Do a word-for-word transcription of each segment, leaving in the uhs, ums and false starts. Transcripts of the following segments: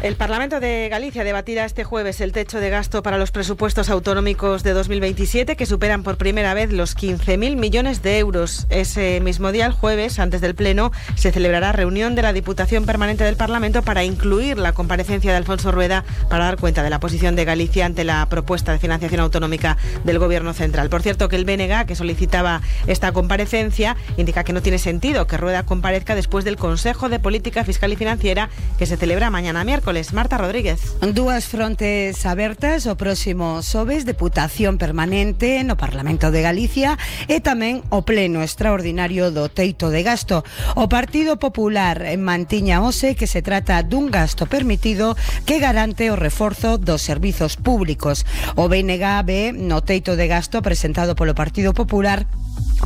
El Parlamento de Galicia debatirá este jueves el techo de gasto para los presupuestos autonómicos de dos mil veintisiete, que superan por primera vez los quince mil millones de euros. Ese mismo día, el jueves, antes del Pleno, se celebrará reunión de la Diputación Permanente del Parlamento para incluir la comparecencia de Alfonso Rueda para dar cuenta de la posición de Galicia ante la propuesta de financiación autonómica del Gobierno central. Por cierto, que el B N G, que solicitaba esta comparecencia, indica que no tiene sentido que Rueda comparezca después del Consejo de Política Fiscal y Financiera que se celebra mañana miércoles. Marta Rodríguez. Dúas frontes abertas o próximo xoves, Deputación Permanente no Parlamento de Galicia e tamén o Pleno Extraordinario do Teito de Gasto. O Partido Popular mantiña hoxe que se trata dun gasto permitido que garante o reforzo dos servizos públicos. O B N G ve no teito de gasto presentado polo Partido Popular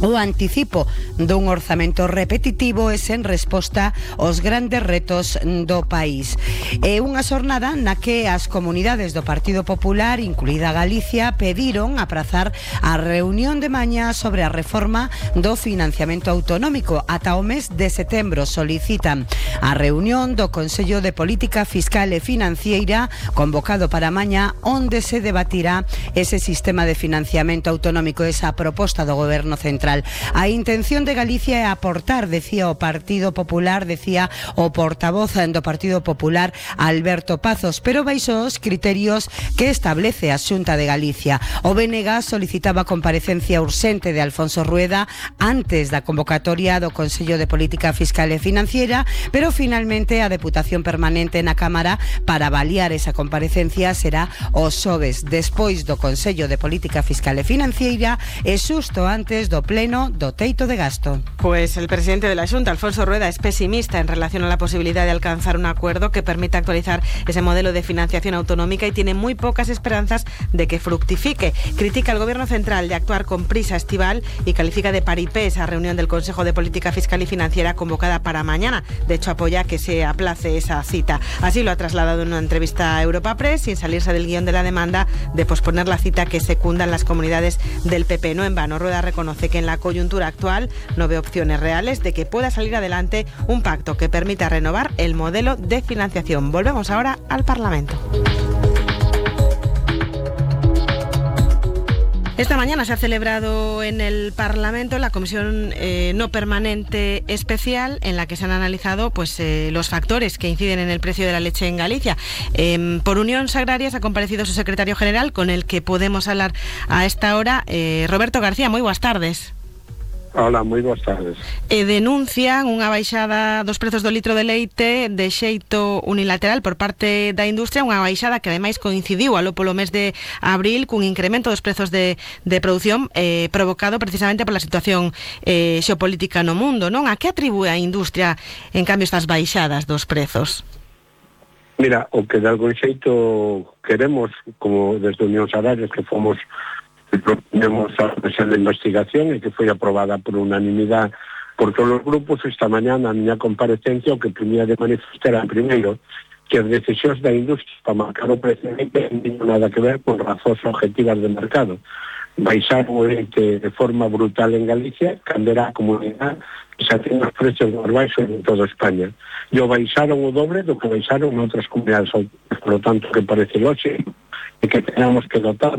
o anticipo dun orzamento repetitivo e sen resposta aos grandes retos do país. É unha xornada na que as comunidades do Partido Popular, incluída Galicia, pediron aprazar a reunión de mañá sobre a reforma do financiamento autonómico. Ata o mes de setembro solicitan a reunión do Consello de Política Fiscal e Financiera convocado para mañá, onde se debatirá ese sistema de financiamento autonómico, esa proposta do Goberno central. A intención de Galicia é aportar, decía o Partido Popular, decía o portavoz do Partido Popular, Alberto Pazos, pero baixo os criterios que establece a Xunta de Galicia. O B N G solicitaba comparecencia urxente de Alfonso Rueda antes da convocatoria do Consello de Política Fiscal e Financiera, pero finalmente a Deputación Permanente na Cámara para avaliar esa comparecencia será o xoves, despois do Consello de Política Fiscal e Financiera e xusto antes do Pleno do Teito de Gasto. Pues el presidente de la Xunta, Alfonso Rueda, es pesimista en relación a la posibilidad de alcanzar un acuerdo que permita actualizar ese modelo de financiación autonómica y tiene muy pocas esperanzas de que fructifique. Critica al Gobierno central de actuar con prisa estival y califica de paripé esa reunión del Consejo de Política Fiscal y Financiera convocada para mañana. De hecho, apoya que se aplace esa cita. Así lo ha trasladado en una entrevista a Europa Press, sin salirse del guión de la demanda de posponer la cita que secundan las comunidades del P P. No en vano, Rueda reconoce que en la coyuntura actual no ve opciones reales de que pueda salir adelante un pacto que permita renovar el modelo de financiación. Volvemos ahora al Parlamento. Esta mañana se ha celebrado en el Parlamento la Comisión eh, No Permanente Especial, en la que se han analizado pues eh, los factores que inciden en el precio de la leche en Galicia. Eh, por Unión Agrarias ha comparecido su secretario general, con el que podemos hablar a esta hora, eh, Roberto García. Muy buenas tardes. Hola, moi boas tardes. E denuncian unha baixada dos prezos do litro de leite de xeito unilateral por parte da industria, unha baixada que ademais coincidiu aló polo mes de abril cun incremento dos prezos de, de produción eh, provocado precisamente pola situación eh, xeopolítica no mundo, non? A que atribúe a industria, en cambio, estas baixadas dos prezos? Mira, o que de algún xeito queremos, como desde Unión Agrarias, que fomos proponemos a comisión de investigación e que foi aprobada por unanimidade por todos os grupos, esta mañá na miña comparecencia o que primía de manifestar era, primeiro, que as decisións da industria para marcar o precio non teñen nada que ver con razóns objetivas de mercado. Baixar o leite de forma brutal en Galicia cambiará a comunidade que xa ten os precios máis baixos en toda España. E o baixaron o dobre do que baixaron en outras comunidades autónomas, por lo tanto, que parece lógico e que tenemos que dotar